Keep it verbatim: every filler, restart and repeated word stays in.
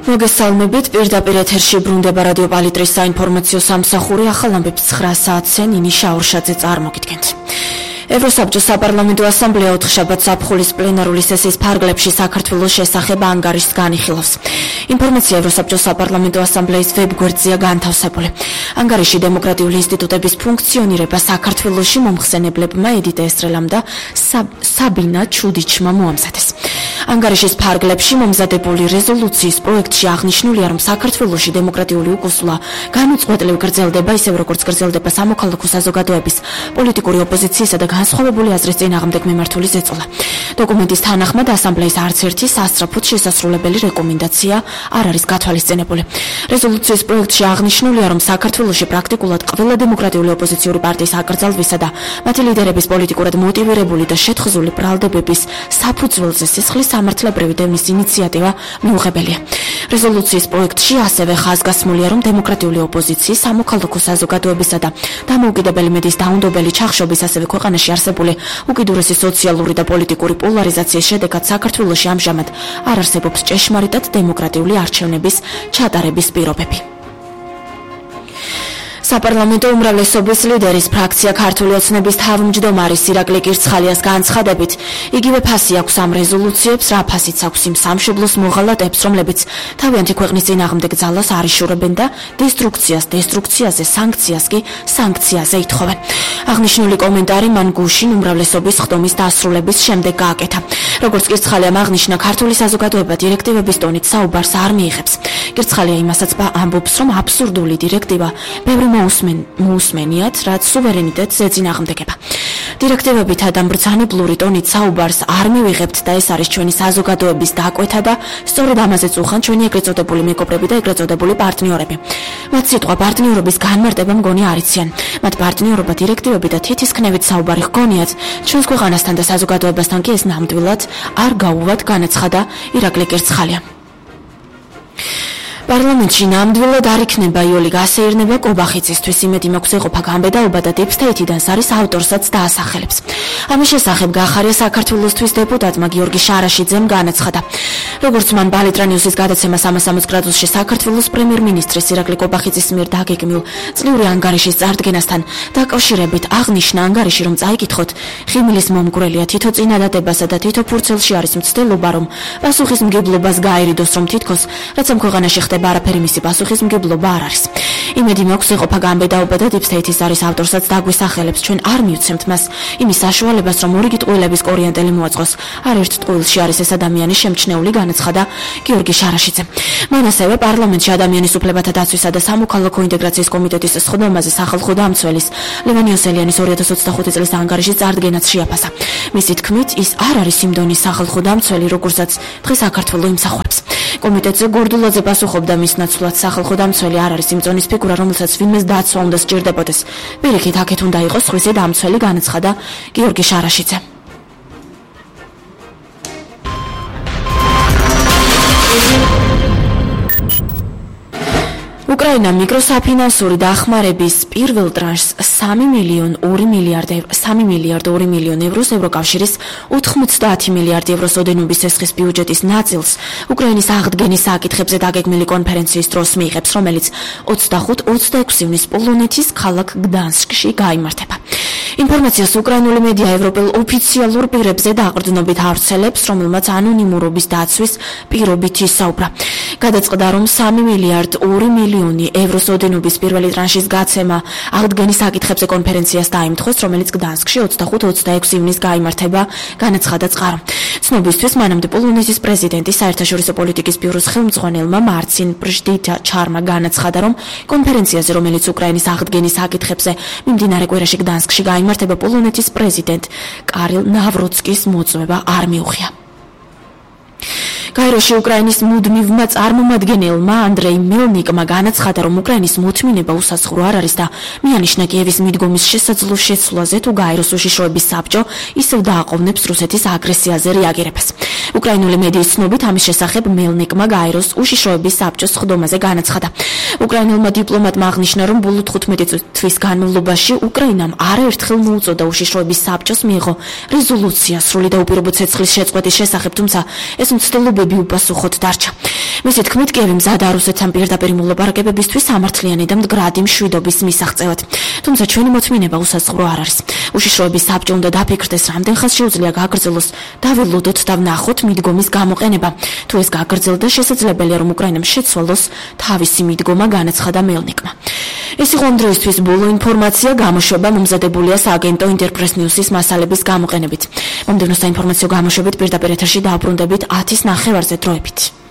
მოგესალმებით, პირდაპირ ეთერში ბრუნდება რადიო პალიტრის საინფორმაციო სამსახური, ახალ ამბებს ცხრა საათზე ნინი შაურშაძე წარმოგიდგენთ. ევროსაბჭოს საპარლამენტო ასამბლეა ოთხშაბათს ზაფხულის პლენარული სესიის ფარგლებში საქართველოს შესახებ ანგარიშს განიხილავს. ინფორმაცია ევროსაბჭოს საპარლამენტო ასამბლეის ვებგვერდზეა განთავსებული. ანგარიში დემოკრატიული ინსტიტუტების ფუნქციონირება საქართველოში მომხსენებლებმა ედიტ ესტრელამ და საბინა ჩუდიჩმა მოამზადეს. ანგარიშის ფარგლებში მომზადებული რეზოლუციის პროექტში აღნიშნულია, რომ საქართველოში დემოკრატიული უკუსვლა განუწყვეტლივ გრძელდება, ისევ როგორც გრძელდება სამოქალაქო საზოგადოების, პოლიტიკური ოპოზიციისა და განსხვავებული აზრის წინააღმდეგ მიმართული ზეწოლა. დოკუმენტის თანახმად ასამბლეის არც ერთი სასწრაფოდ შესასრულებელი რეკომენდაცია არ არის გათვალისწინებული. რეზოლუციის პროექტში აღნიშნულია, რომ საქართველოში პრაქტიკულად ყველა დემოკრატიული ოპოზიციური პარტიის აკრძალვისა და მათი ლიდერების პოლიტიკურად მოტივირებული და შეთხზული ბრალდებების საფუძველზე სისხლის სამართლებრივი დევნის ინიციატივა მიუღებელია. რეზოლუციის პროექტში ასევე ხაზგასმულია, რომ დემოკრატიული ოპოზიციის, სამოქალაქო საზოგადოებისა და დამოუკიდებელი მედიის დაუნდობელი ჩახშობის, ასევე ქვეყანაში არსებული უკიდურესი სოციალური და პოლიტიკური პოლარიზაციის შედეგად საქართველოში ამჟამად არ არსებობს ჭეშმარიტად დემოკრატიული არჩევნების ჩატარების პირობები. საპარლამენტო უმრავლესობის ლიდერის ფრაქცია ქართული ოცნების თავმჯდომარის ირაკლი კირცხალიას განცხადებით, იგივე ფასი აქვს ამ რეზოლუციებს, რა ფასიც აქვს იმ სამშობლოს მოღალატეებს, რომლებიც თავიანთი ქვეყნის წინააღმდეგ ძალას არ იშურებენ და დესტრუქციას დესტრუქციაზე, სანქციას კი სანქციაზე ითხოვენ. აღნიშნული კომენტარი მან გუშინ უმრავლესობის ხდომის დასრულების შემდეგ გააკეთა. როგორც კირცხალიამ აღნიშნა, ქართული საზოგადოება დირექტივების ტონით საუბარს არ მიიღებს. კირცხალია იმასაც ამბობს, რომ აბსურდული დირექტივა ბევრი მოусმენიათ, რაც სუვერენიტეტს ეწინააღმდეგება. დირექტივებითა და მბრძანებლური ტონით საუბარს არ მივიღებთ და ეს არის ჩვენი საზოგადოების დაკვეთა და სწორედ ამაზეც უხან ჩვენი ეგრეთ წოდებული მეკობრები და ეგრეთ წოდებული პარტნიორები. მათ სიტყვა პარტნიორობის განმარტება მგონი არ იციან. მათ პარტნიორობა დირექტივები და თითისქნევით საუბარი ჰგონიათ, ჩვენს ქვეყანასთან და საზოგადოებასთან კი ეს ნამდვილად არ გაუვათ, განაცხადა ირაკლი კირცხალია. პარლამენტში ნამდვილად არ იქნება იოლი გასეირნება კობახიცისთვის, იმედი მაქვს ეყოფა გამბედაობა და დიპსტეითიდან სარის ავტორსაც დაასახელებს. ამის შესახებ გაახარია საქართველოსთვის დეპუტატმა გიორგი შარაშიძემ განაცხადა. როგორც მან ბალიტრანიუსის გადაცემა სამას სამოცდაოთხ გრადუსში საქართველოს პრემიერ-მინისტრის ირაკლი კობახიძის მიერ დაგეგმილ წლიური ანგარიშის წარდგენასთან დაკავშირებით აღნიშნა ანგარიში, რომ წაიკითხოთ ხიმილის მომგვრელია თითო წინადადებასა და თითო ფურცელში არის მცდელობა, რომ პასუხისმგებლობას გაერიდოს, რომ თითქოს რაც ამ ქვეყანაში ხდება არაფერი მისი პასუხისმგებლობა არ არის. იმედი მაქვს ეყოფა გამბედაობა და დიპსტეითის არის ავტორსაც დაგვისახელებს, ჩვენ არ მივცემთ მას იმის საშუალებას, რომ ორიგი ტყუილების კორიენტელი მოაწყოს. არ ერთ ტყუილში არის ეს ადამიანი შემჩნეული, განაცხადა გიორგი შარაშიძემ. მან ასევე პარლამენტში ადამიანის უფლებათა დაცვისა და სამოქალაქო ინტეგრაციის კომიტეტის სხდომაზე სახალხო დამცველის ლევან იოსელიანის ორი ათას ოცდახუთი წლის ანგარიშის წარდგენაც შეაფასა. მისი თქმით, ის არ არის იმ დონის სახალხო დამცველი, როგორცაც დღეს საქართველო იმსახურებს. კომიტეტზე გორდულაძე პასუხობდა, მის ნაცვლად სახალხო დამცველი არ არის იმ ზონის ფიგურა, რომელსაც ვინმეს დაცვა უნდა სჭირდებოდეს. პირიქით, აქეთ უნდა იყოს სხვისი დამცველი, განაცხადა გიორგი შარაშიძე. უკრაინა მიკროსაფინანსური დახმარების პირველ ტრანშს სამი მილიონ ორი მილიარდ ევროს ევროკავშირის ოთხმოცდაათი მილიარდი ევროს ოდენობის ესხის ბიუჯეტის ნაწილს უკრაინის აღდგენის საკითხებზე დაგეგმილი კონფერენციის დროს მიიღებს, რომელიც ოცდახუთ ოცდაექვსი ივნის პოლონეთის ქალაქ გდანსკში გაიმართება. ინფორმაციას უკრაინული მედია ევროპელ ოფიციალურ პირებზე დაყრდნობით ავრცელებს, რომელმაც ანონიმურობის დაცვის პირობით ისაუბრა. გადაწყდა, რომ სამი მილიარდ ორი მილიონი ევროს ოდენობის პირველი ტრანშის გაცემა აღდგენის საკითხებზე კონფერენციას დაიმთხოს, რომელიც გდანსკში ოცდახუთ ოცდაექვსი ივნის გაიმართება, განაცხადა წყარო. ცნობისთვის, მანამდე პოლონეთის პრეზიდენტის საერთაშორისო პოლიტიკის ბიუროს ხელმძღვანელმა მარცინ პრჟდიჩარმა განაცხადა, რომ კონფერენციაზე, რომელიც უკრაინის აღდგენის საკითხებზე მიმდინარე კვირაში გდანსკში გაიმართება, პოლონეთის პრეზიდენტ კარილ ნავროცკის მოწვევა არ მიუღია. გაეროში უკრაინის მუდმივმა წარმომადგენელმა ანდრეი მელნიკმა განაცხადა, რომ უკრაინის მოთმინება უსასხრო არ არის და მიანიშნა კიევის მიდგომის შესაძლო შეცვლაზე, თუ გაეროს უშიშროების საბჭო ისევ დააყოვნებს რუსეთის აგრესიაზე რეაგირებას. უკრაინული მედიის ცნობით ამის შესახებ მელნიკმა გაეროს უშიშროების საბჭოს ხდომაზე განაცხადა. უკრაინელმა დიპლომატმა აღნიშნა, რომ ბოლო თხუთმეტი თვის განმავლობაში უკრაინამ არაერთხელ მოუწოდა უშიშროების საბჭოს მიიღო რეზოლუცია სრული და უპირობო ცეცხლის შეწყვეტის შესახებ, თუმცა ეს მცდელობები უპასუხოდ დარჩა. მისი თქმით, კიევი მზადაა რუსეთთან პირდაპირ მოლაპარაკებებისთვის სამართლიანი და მდგრადი მშვიდობის მისაღწევად. თუმცა ჩვენი მოთმინება უსაზღვრო არ არის. უშიშროების საბჭო უნდა დაფიქრდეს, რამდენ ხანს შეუძლია გაგრძელოს და ვილოდოთ და ვნახოთ მიდგომის გამოყენება. თუ ეს გაგრძელდა, შესაძლებელია, რომ უკრაინამ შეცვალოს თავისი მიდგომა, განაცხადა მელნიკმა. ეს იყო ამ დროისთვის ბოლო ინფორმაცია, გამოშვება მომზადებულია სააგენტო ინტერპრეს ნიუსის მასალების გამოყენებით. მომდევნო საინფორმაციო გამოშვებით პირდაპირ ეთერში დაუბრუნდებით ათის ნახევარზე დროებით.